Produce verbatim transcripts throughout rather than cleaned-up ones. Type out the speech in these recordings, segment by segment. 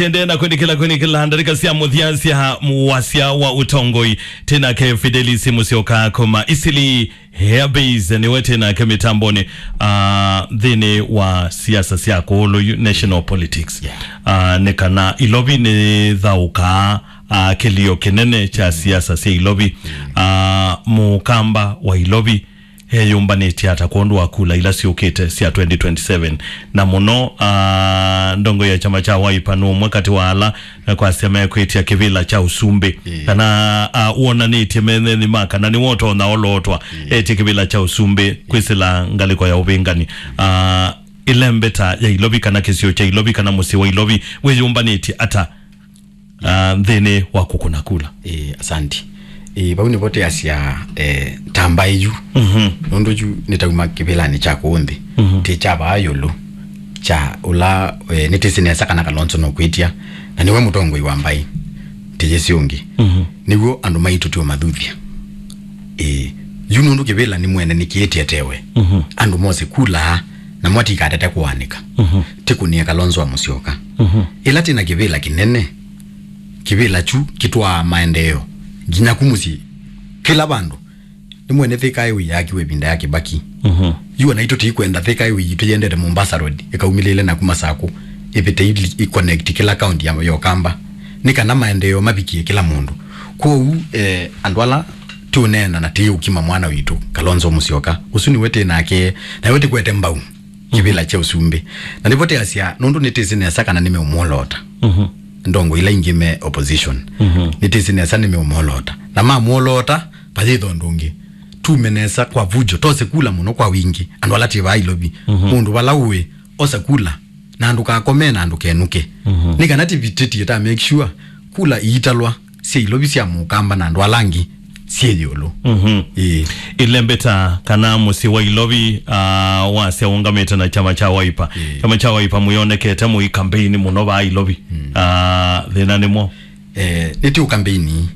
Tende na kwĩnĩkĩla, kwĩnĩkĩla ndarĩka sya mũthya sya wasya wa ũtongoi. Tĩ nake Fidelis Musyoka kuma Eastleigh Air Base, nĩwe tĩ nake mĩtambonĩ, ah, nthĩnĩ wa siasa sya kũũlũ yu, national politics. Yeah. Ah, nĩ kana Ilovi nĩthaũkaa, ah, kĩlio kĩnene kya siasa sya Ilovi. Mm. Ah, Mũkamba wa Ilovi eyũmbanĩtye ata kwondũ wa kula ila syũkĩte sya twenty twenty-seven? Na mũno, ah, ndongo ya kyama kya Wiper nĩ ũmwe katĩ wa ala, eh, kwasya mekwĩtya kĩvĩla kya ũsumbĩ. Ĩĩ. Kana, ah, wonanĩtye menenĩ ma kana nĩwe ũtonya olootwa, ĩĩ, etye kĩvĩla kya ũsumbĩ, ĩĩ, kwĩsĩla ngalĩko ya ũvĩngani. Ah, ĩlembeta ya Ilovi kana kĩsio kya Ilovi kana mũsyĩ wa Ilovi wĩyũmbanĩtye ata, ah, nthĩnĩ wa kũkũna kula? Ĩĩ, asanti. Ĩĩ, vau nĩvo tĩasya, eh, ta mbaĩ yu. Mhm. Nũndũ yu nĩtauma kĩvĩlanĩ kya kũũ nthĩ. Mhm. Tĩ kya vaa ĩũlũ. Kya ũla, eh, nĩtĩsĩ nesa kana Kalonzo nũkwĩtya. Na nĩwe mũtongoi wa mbaĩ. Tĩyĩsĩ ũngĩ. Mhm. Nĩw'o andũ maitũ tũũmathuthya. Ĩĩ. Yu nũndũ kĩvĩla nĩ mwene nĩkĩĩtyetewe. Mhm. Andũ mose kula, na mwatikatete kũanĩka. Mhm. Tĩkũnĩe Kalonzo wa Musyoka. Mhm. Ĩla tĩna kĩvĩla kĩnene, kĩvĩla kyu kĩtwaa maendeeo nginya ku mũsyĩ kĩla vandũ. Nĩ mwene Thika Highway yaakiwe ĩvinda ya Kibaki. Mhm. Yu ona itũ tĩikwenda Thika Highway yitũ yendete Mombasa Road, ĩkaumĩlĩle na kuma Sakũ, ĩvĩte ili ĩconnect kĩla kaunti ya, ya Ũkamba. Nĩ kana maendeeo mavikie kĩla mũndũ. Kwoou, eh, andũ ala tũũneena na tĩũkima mwana witũ, Kalonzo Musyoka, ũsu nĩwe tĩ nake, na we tĩkwete mbau kĩvĩla kya ũsumbĩ. Na nĩvo tĩasya, nũndũ nĩtĩsĩ nesa kana nĩmeũmwoloota. Mhm. Ndongo ila ingĩ me opposition. Mhm. Nĩtĩsĩ nesa nĩmeũmwoloota. Na mamwoloota, vayĩtha ũndũ ũngĩ. Tume nesa kwa vujo, tose kula mũno kwa wingĩ. Andũ ala twĩ vaa Ilovi. Mhm. Mũndũ vala ũĩ, osa kula. Na ndũkakome na ndũkenũke. Mhm. Nĩ kana tĩvitĩtie ta make sure kula iitalwa sya Ilovi sya Mũkamba na andũ ala angĩ syĩ ĩũlũ. Mhm. Ĩĩ. Ĩlembeta kana mũsyĩ wa Ilovi, ah, wasya ũngamĩte na kyama kya Wiper. Ĩĩ. Kyama kya Wiper mũyonekete mũi kambeini mũno vaa Ilovi. Mm. Ah, thĩna nĩ mwaũ? Eh, nĩtĩ ũkambeini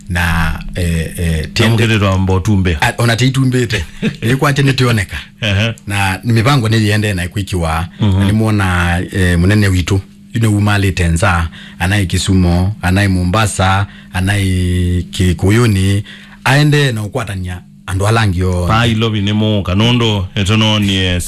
na, eh, eh, na tiende- mũkĩrĩtwa mbotumbĩ. A, ona tĩitumbĩte. Nĩkwatya nĩtĩoneka. Ehe. Na mĩvango nĩyĩendee na kwĩkiwa. Mhm. Na nĩmwona, eh, mũnene witũ yu nĩwumalĩte nza, anaĩ Kisumo, anaĩ Mombasa, anaĩ Kĩkũyũnĩ, aendee na ũkwatany'a andũ ala angĩ onthe. Vaa Ilovi nĩ mũũka, nũndũ nĩtũnoonie